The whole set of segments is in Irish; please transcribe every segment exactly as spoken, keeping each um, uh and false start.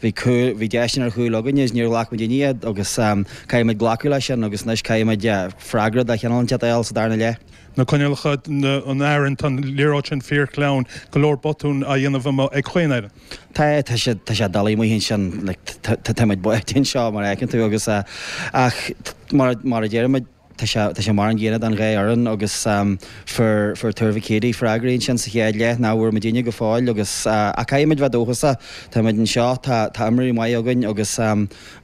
Bhí cúl, bhí deiseanna ar chúil againne is níor ghlac muidinne iad agus caithfidh muid glacadh leis sin agus anois caithfidh muid freagra de chineál inteacht a fháil sa darna leath. Na coinníollacha, an fhearann, tá an liathróid sin fíorshleamhain, go leor botún á dhéanamh amuigh ag chaon fhoireann. Tá, tá sé, tá sé doiligh amuigh ansin, like, tá muid báite anseo mar a fheiceann tú agus ach mar, mar a deir muid, Tá sé, tá sé mar an gcéanna don dhá fhoireann agus fuair, fuair Tuar Mhic Éadaigh freagraí ansin sa chéad leath nach bhfuair muidinne go fóill agus ach caithfidh muid bheith dóchasach. Tá muid anseo, tá, tá imreoirí maith againn agus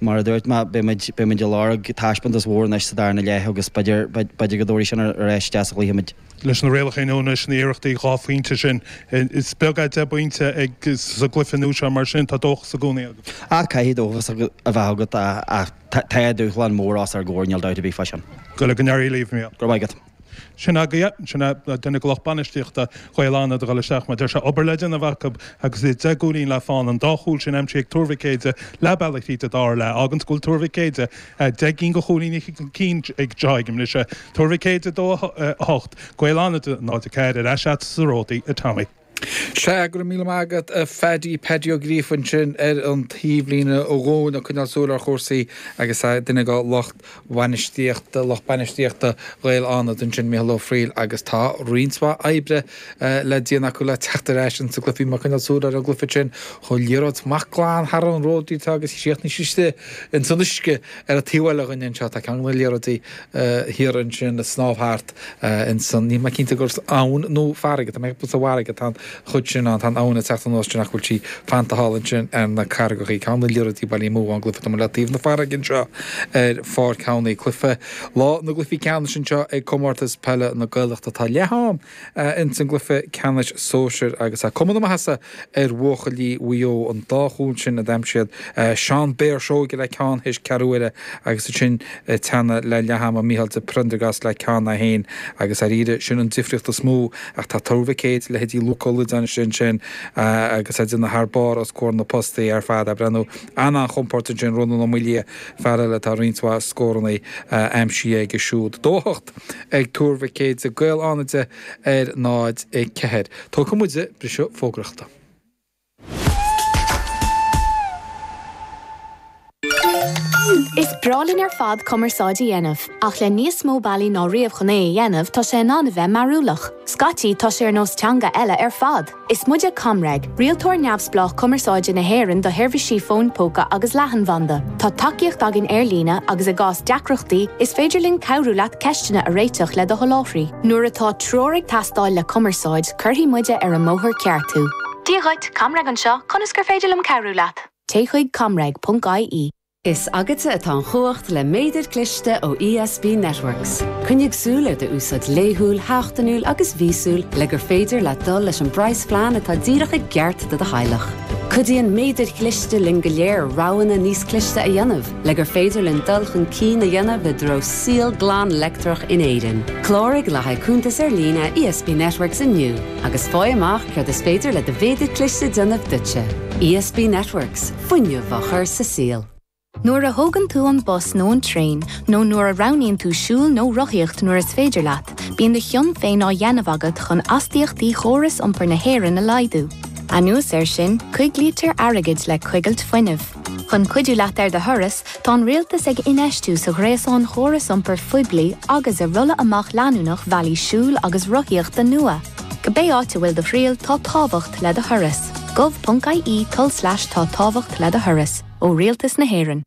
mar a dúirt mé, beidh muid, beidh muid ag lorg taispeántas mhór anois sa darna leath agus b'fhéidir, b'fhéidir go dtabharfaidh sin ar ais isteach sa chluiche muid. Leis na rialacha nua anois, na hiarrachtaí dhá phointe sin, is beag é deich bpointe ag, sa gcluiche nua seo mar sin tá dóchas i gcónaí agat. Ach caithfidh dóchas a bheith agat ach tá dúshlán mór os ár gcomhair, níl dabht ar bith fá sin. Go n-éirí libh, Mícheál. Go raibh maith agat. Sin agaibh, sin é duine de lucht bainistíochta Ghaeil Fhánada ag dul isteach mar deir sé obair le déanamh acu agus iad deich gcúilín le fán, an dá chúl sin aimsithe ag Tuar Mhic Éide leath bealaigh tríd an dara leath. Fháganns go bhfuil Tuar Mhic Éide deich gcinn de chúilíní chun cinn ag seo ag an mbriseadh. Tuar Mhic Éide dó a hocht, Gaeil Fhánada náid a ceathair ar ais agat sa Ródaí, a Tommy. Sea, go raibh míle maith agat a Phaddy, Paddy Ó Gríofa ansin ar an taobhlíne dhúinn ag coinneáil súil ar chúrsaí agus duine de lucht bhainistíochta, lucht bainistíochta Ghaeil Fhánada ansin, Mícheál Ó Frighil agus tá roinnt mhaith oibre le déanamh acu le teacht ar ais insa gcluiche. Bhí mé ag coinneáil súil ar an gcluiche sin, chuaigh liathróid amach glan thar an ród atá agus chríochnaigh sí istigh ins an uisce ar an taobh eile dhúinn anseo. Tá ceann de na liathróidí thiar ansin ag snámh thart ins an, níl mé cinnte gur abhainn nó farraige, tá mé ag ceapadh sa bhfarraige atá an chuid sin ann, tá an abhainn ag teacht anuas sin ach bhfuil sí fanta thall ansin ar na carraigeachaí. Ceann de na liathróidí bailithe amú ón gcluiche. Tá muid le taobh na farraige anseo ar Pháirc Thamhnaigh. Cluiche lá na gcluichí ceannais anseo ag Comórtas Peile na Gaeltachta. Tá leath am ins an gcluiche ceannais sóisir agus tá cuma na maitheasa ar bhuachaillí Mhaigh Eo an dá chúl sin a d'aimsigh siad, Seán Béar Seoige le ceann théis ceathrú uaire agus ansin ag teannadh le leath ama Mícheál de Prendergast le ceann é féin agus dáiríre sin an difríocht is mó ach tá Tuar Mhic Éadaigh, leithéidí Luca Ó Loideáin istigh ansin agus ag déanamh thar barr os comhair na postaí ar fad ag breathnú an-an-chompordach ansin Rónán Ó Maolaodha fear eile atá roinnt mhaith scóranna aimsithe aige siúd. Dó a hocht ag Tuar Mhic Éadaigh, Gaeil Fhánada ar náid a ceathair. Tógfaidh muid briseadh fógraíochta. Is breá linn ar fad cumarsáid a dhéanamh, ach le níos mó bealaí ná riamh chun é a dhéanamh tá sé in ann a bheith mearúlach. Scaití tá sé ar nós teanga eile ar fad. Is muide ComReg, rialtóir neamhspleách cumarsáide na hÉireann do sheirbhísí fóin póca agus leathanbhanda. Tá tacaíocht againn ar líne agus i gcás deacrachtaí, is féidir linn cabhrú leat ceisteanna a réiteach le do sholáthraí. Nuair atá treoir ag teastáil le cumarsáid, cuirfidh muide ar an mbóthar ceart thú. Dia dhuit, ComReg anseo, conas gur féidir liom cabhrú leat? Téigh chuig comreg.ie. Is agatsa atá an chumhacht le méadar cliste ó ESB Networks. Coinnigh súil ar d'úsáid laethúil, sheachtainiúil agus mhíosúil le gur féidir leat dul leis an bpraghasphlean atá díreach i gceart do do theaghlach. Cuidíonn méadair chliste linn go léir roghanna níos cliste a dhéanamh, le gur féidir linn dul chun cinn a dhéanamh i dtreo saol glan leictreach in Éirinn. Cláraigh le haghaidh cuntas ar líne ESB Networks inniu agus faigh amach céard is féidir le do mhéadar cliste déanamh duitse. ESB Networks, fuinneamh á chur sa saol. Nuair a thógann tú an bus nó an traein, nó nuair a roghnaíonn tú siúl nó rothaíocht nuair is féidir leat, bíonn do chion féin á dhéanamh agat chun astaíochtaí chóras iompair na hÉireann a laghdú. Anuas air sin, coiglítear airgead le coigilt fuinnimh. Chun cuidiú leat ar do thuras, tá an rialtas ag infheistiú sa ghréasán chóras iompair phoiblí agus i rolladh amach leanúnach bealaí siúil agus rothaíochta nua. Cibé áit a bhfuil do thriall tá tábhacht le do thuras. gov.ie tulslais tá tábhacht le do thuras ó Rialtas na hÉireann.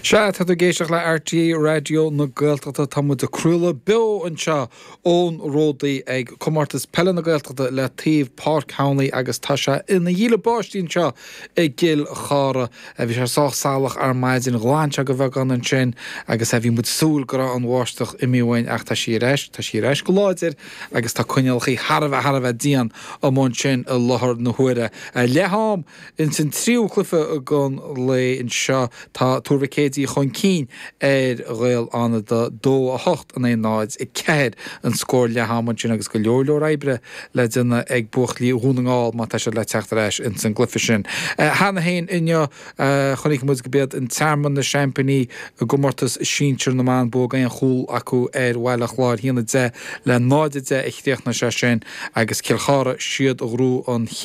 Sea, tá tú ag éisteacht le RTÉ Raidió na Gaeltachta. Tá muid ag craoladh beo anseo ón Ródaí ag Comórtas Peile na Gaeltachta le taobh Páirc Thamhnaigh agus tá sé ina dhíle báistí anseo i gCill Chartha. Bhí sé sách salach ar maidin, ghlan sé go beagán ansin agus bhí muid ag súil go raibh an bháisteach imithe uainn ach tá sí ar ais, tá sí ar ais go láidir agus tá coinníollacha thar a bheith, thar a bheith dian amuigh ansin i láthair na huaire. Leath-am ins an tríú cluiche den lae anseo tá Tuar Mhic Éadaigh Céide chun cinn ar Ghaeil Fhánada dó a hocht in aghaidh náid a ceathair an scór leath-ama ansin agus go leor leor oibre le déanamh ag buachaillí Dhún na nGall má tá siad le teacht ar ais ins an gcluiche sin. Cheana féin inniu chonaic muid go b'iad an Tearmann na seaimpíní i gcomórtas sinsir na mban bua d'aon chúl acu ar Bhaile Chláir a haon a deich le náid a deich a chríochnaigh sé sin agus Cill Chartha siad a ghnóthaigh an chéad